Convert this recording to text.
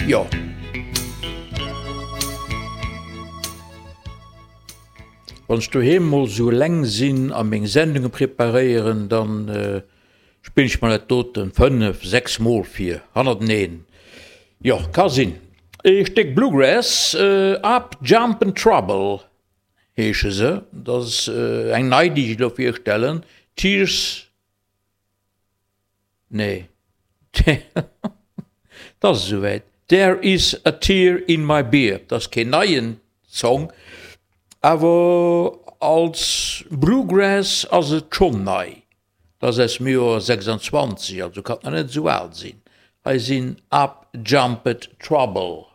Jo. Wann ech doheem mol sou eleng sinn a meng Sendunge preparéieren, dann spillen ech mer dat doten 5, 6 mol vir hannerteneen. Jo, ka sinn. Ee Stéck Bluegrass, Up Jumpin' Trouble heesche se. Dat ass eng nei, déi ech elo virstellen, Tears. Nee, 't ass esouwäit. There is a tear in my beer, 't ass keen neien Song, awer als Bluegrass ass et schonn nei. 't ass aus dem Joer 26, also kann et nach net esou al sinn. Hei sinn Up Jumped Trouble.